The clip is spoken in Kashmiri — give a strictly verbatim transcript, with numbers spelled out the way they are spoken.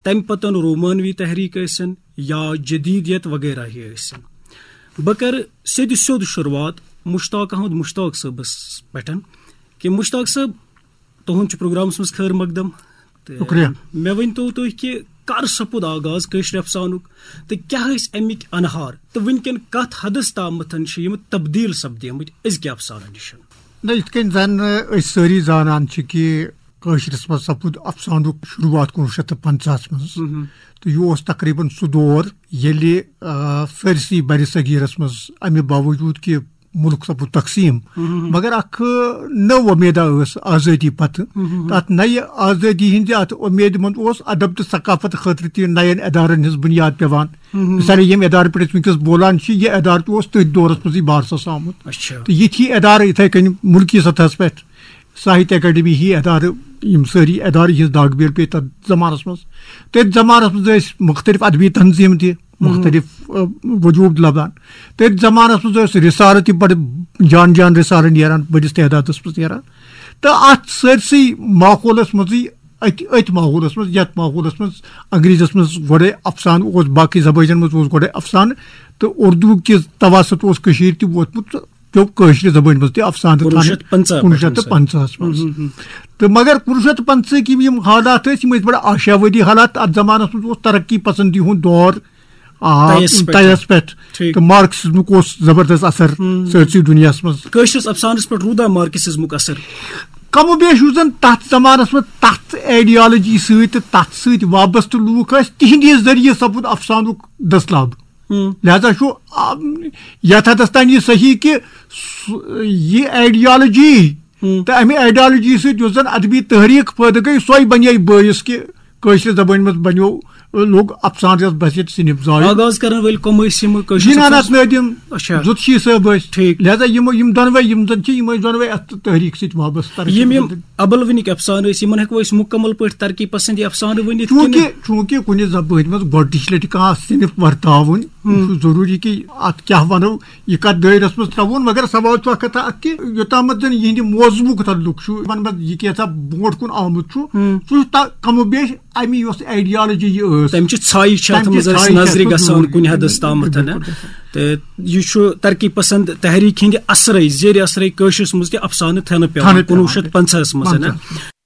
امہِ پتن رومانوی تحریک ٲسِن یا جدیدیت وغیرہ ہی ٲسِن۔ بہٕ کرٕ سیٚدِ سیوٚد شروٗعات مشتاق احمد مشتاق صٲبس پٮ۪ٹھ کہِ مشتاق صٲب، تُہُنٛد چھُ پروگرامس منٛز خٲر مقدم۔ تہٕ شُکریہ۔ مےٚ ؤنۍ تو تُہۍ کہِ کر سپُد آغاز کٲشرِ افسانُک تہٕ کیٛاہ ٲسۍ اَمِکۍ انہار تہٕ وٕنکٮ۪ن کتھ حدس تامتھ چھِ یِم تبدیل سپدیمٕتۍ أزکہِ افسانہٕ نِش؟ نہ، یِتھ کٔنۍ زن أسۍ سٲری زانان چھِ کہِ کٲشرِس منٛز سپُد افسانُک شروٗعات کُنوُہ شیٚتھ تہٕ پنٛژاہس منٛز۔ مہم۔ تہٕ یہِ اوس تقریباً سُہ دور ییٚلہِ، آ، سٲرسٕے برِ صغیٖرس منٛز، امہِ باوجوٗد کہِ مُلک سپُد تقسیٖم، مہم۔ مگر اکھ نٔو وۄمیدا ٲس آزٲدی پتہٕ۔ مہم۔ تہٕ اتھ نَیہِ آزٲدی ہٕنٛزِ اتھ وۄمیدِ منٛز اوس ادب تہٕ ثقافت خٲطرٕ تہِ نَین ادارن ہٕنٛز بُنیاد پٮ۪وان۔ مہم۔ مثالے، ییٚمہِ ادارٕ پٮ۪ٹھ أسۍ وٕنکیٚس بولان چھِ، یہِ ادارٕ تہِ اوس تٔتھۍ دورس منٛزٕے بارسس آمُت۔ اچھا۔ تہٕ یِتھۍ ادارٕ یِتھے کٔنۍ مُلکی سطحس پٮ۪ٹھ ساہتیہ اکیڈمی ہی ادارٕ، یِم سٲری ادارٕ یِہنٛز داغ بیل پیٚیہِ تتھ زمانس منٛز۔ تٔتھۍ زمانس منٛز ٲسۍ مختلف ادبی تنظیٖم تہِ، مہم۔ مختلف، آ، وجوٗد لبان۔ تٔتھۍ زمانس منٛز ٲسۍ رسالہٕ تہِ بڑٕ جان جان رسالہٕ نیران، بٔڑِس تعدادس منٛز نیران۔ تہٕ اتھ سٲرسٕے ماحولس منٛزٕے، أتھۍ، أتھۍ ماحولس منٛز، یتھ ماحولس منٛز انگریزس منٛز گۄڈے افسانہٕ اوس، باقٕے زبٲنن منٛز اوس گۄڈے افسانہٕ، تہٕ اردو کِس توسط اوس کٔشیٖرِ تہِ ووتمُت، تہٕ پیوٚو کٲشرِ زبٲنۍ منٛز تہِ افسانہٕ کُنوُہ شیٚتھ پنٛژاہ پٮ۪ٹھ کُنوُہ شیٚتھ تہٕ پنٛژاہس منٛز۔ ہُم، ہُم، ہُم۔ تہٕ مگر کُنوُہ شیٚتھ تہٕ پنٛژاہٕکۍ یِم، یِم حالات ٲسۍ، یِم ٲسۍ بڑٕ آشاوٲدی حالات۔ اتھ زمانس منٛز اوس ترقی پسندی ہُنٛد دور، آ، تیس پٮ۪ٹھ۔ تیس پٮ۪ٹھ۔ ٹھیٖک۔ تہٕ مارکسزمُک اوس زبردست اثر ہُم۔ سٲرسٕے دُنیاہس منٛز۔ کٲشرِس افسانس پٮ۪ٹھ روٗدا مارکسزمُک اثر؟ کم و بیش یُس زن تتھ زمانس منٛز تتھ ایڈیالوجی سۭتۍ تہٕ تتھ سۭتۍ وابستہٕ لوٗکھ ٲسۍ، تِہنٛدِ ذٔریعہٕ سپُد افسانُک دٔسلاب۔ ہم۔ لہذا چھُ، آ، یتھ حدس تام یہِ صحیح کہِ سُہ، یہِ ایڈیالوجی ہم۔ تہٕ امہِ ایڈیالوجی سۭتۍ یُس زن ادبی تحریک پٲدٕ گٔے، سۄے بنے بٲعث کہِ کٲشرِ زبٲنۍ منٛز بنیو، لوٚگ افسانہٕ یس بحیثیت صنف زایہِ۔ آغاز کرن وٲلۍ کم ٲسۍ یِم کٲشرِ جناناتھ افسانہٕ؟ نٲدِم، اچھا۔ زُتشی صٲب ٲسۍ۔ ٹھیٖک۔ لہذا یِمو، یِم دۄنوے، یِم زن چھِ، یِم ٲسۍ دۄنوے اتھ تحریک سۭتۍ وابستہٕ۔ یِم، یِم ابلوٕنِکۍ افسانہٕ ٲسۍ، یِمن ہٮ۪کو أسۍ مُکمل پٲٹھۍ ترقی پسندی افسانہٕ ؤنِتھ کِنہٕ؟ چوٗنٛکہِ، چوٗنٛکہِ کُنہِ زبٲنۍ منٛز گۄڈٕنِچ لٹہِ کانٛہہ صنف ورتاوُن، ہم۔ یہِ چھُ ضروٗری کہِ اتھ کیٛاہ ونو، یہِ کتھ دٲیرس منٛز ترٛاوُن۔ مگر سوال چھُ اکھ کتھا اکھ کہِ یوٚتامتھ زن یِہنٛدِ موضوعُک تعلق چھُ، یِمن منٛز یہِ کینٛژھا برونٛٹھ کُن آمُت چھُ، ہم۔ سُہ چھُ تا-، کم و بیش امی یۄس ایڈیالوجی یہِ ٲس، تمہِ چہِ ژھایہِ چھِ اتھ تمہِ چہِ منٛز اسہِ ژھایہِ چھِ نظرِ اتھ منٛز گژھان ضروٗری۔ کُنہِ حدس تامتھ، بِلکُل، نہ؟ بِلکُل۔ تہٕ یہِ چھُ ترقی پسند تحریک ہٕنٛدِ اثرے، زیرِ اثرے کٲشرِس منٛز تہِ افسانہٕ تھنہٕ پٮ۪وان، تھنہٕ پٮ۪وان۔ کُنوُہ شیٚتھ پنٛژاہس منٛز، نہ؟ پنٛژاہ۔